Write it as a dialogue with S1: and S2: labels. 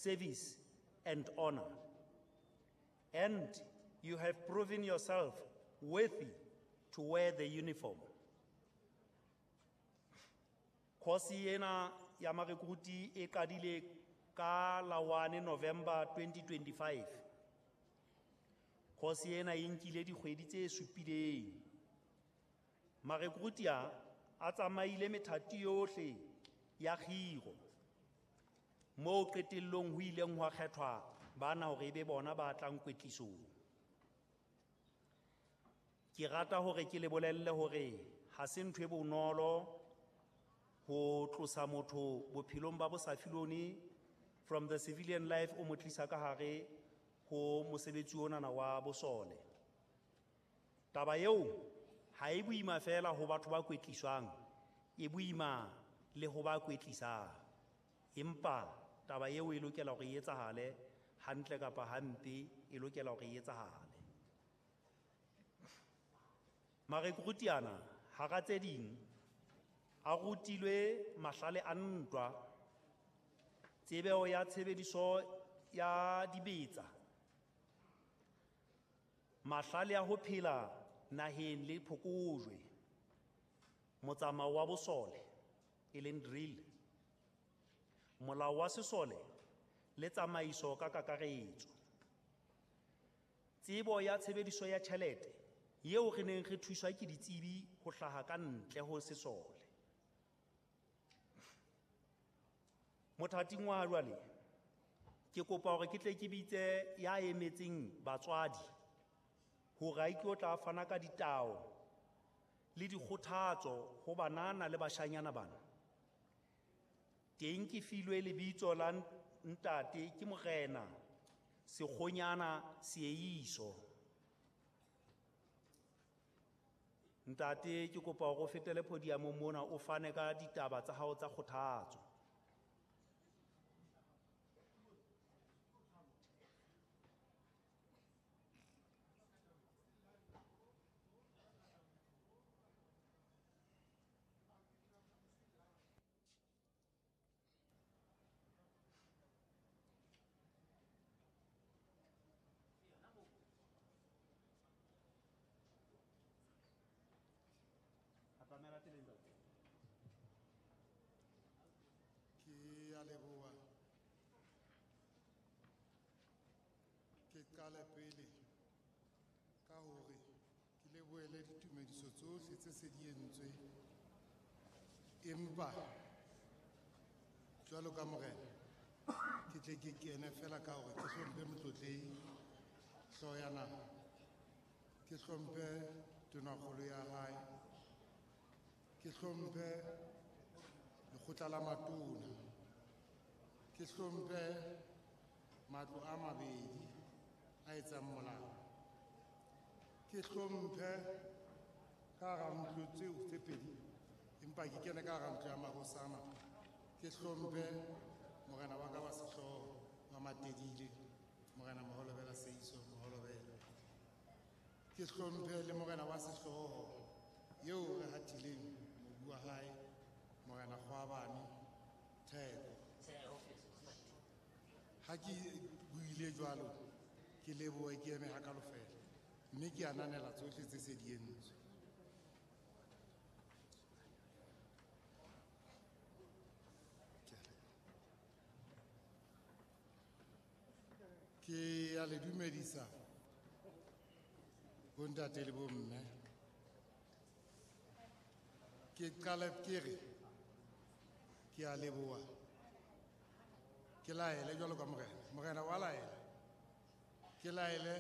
S1: service and honor. And you have proven yourself worthy to wear the uniform. Course ena ya marekruti e qadile ka la 1 November 2025. Course ena e nkile dikgwedi tse supileng. Marekruti a tsamaile methati yohle ya kgiro, moo qetellong ho ileng hwa kgethwa bana hore ebe bona ba tlang kwetlisong. Ke rata hore ke le bolelle hore ha se ntho e bonolo ho tlosa motho bophelong ba bosafilone from the civilian life o mo tlisa ka hare ho mosebetsi onana wa bosole. Taba eo ha e boima fela ho batho ba kwetliswang, e boima le ho ba kwetlisang. Empa taba eo e lokela hore e etsahale hantle kapa hampe, e lokela hore e etsahale. Marekruti ana hara tse ding a rutilwe mahlale a ntwa, tsebeo ya tshebediso ya dibetsa, mahlale a ho phela naheng le phokojwe, motsamao wa bosole e leng drill, molao wa sesole le tsamaiso ka kakaretso. Tsebo ya tshebediso ya tjhelete eo re neng re thuswa ke ditsebi ho hlaha ka ntle ho sesole. Mothating wa jwale ke kopa hore ke tle ke bitse ya emetseng batswadi hore a itlo tla fana ka ditao le dikgothatso ho banana le bashanyana bana. Teng ke filwe lebitso la ntate ke Morena Sekgonyana Seeiso. Ntate ke kopa hore o fetele podiumong mona o fane ka ditaba tsa hao tsa kgothatso.
S2: Ke a leboha. Ke qale pele ka hore ke lebohele ditumediso tsohle tse se di entswe, empa jwalo ka morena ke tle ke kene fela ka hore ke hlomphe motlotlehi hlooho ya naha, ke hlomphe tonakgolo ya hae, ke hlomphe lekgotla la matona, ke hlomphe matlo a mabedi a etsang molao, ke hlomphe ka hara ntlo tseo tse pedi, empa ke kene ka hara ntlo ya mahosana, ke hlomphe morena wa ka wa sehlooho wa Matedile, Morena Moholobela Seiso Moholobela, ke hlomphe le morena wa sehlooho eo re hatileng mobu wa hae, Morena Kgwabane Theko. Ha ke buile jwalo, ke lebohe ke eme hakalo fela, mme ke ananela tsohle tse se di entswe. Ke a le dumedisa bontate le bomme. Ke qale ke re ke a leboha, ke laele jwalo ka morena, morena wa laela, ke laele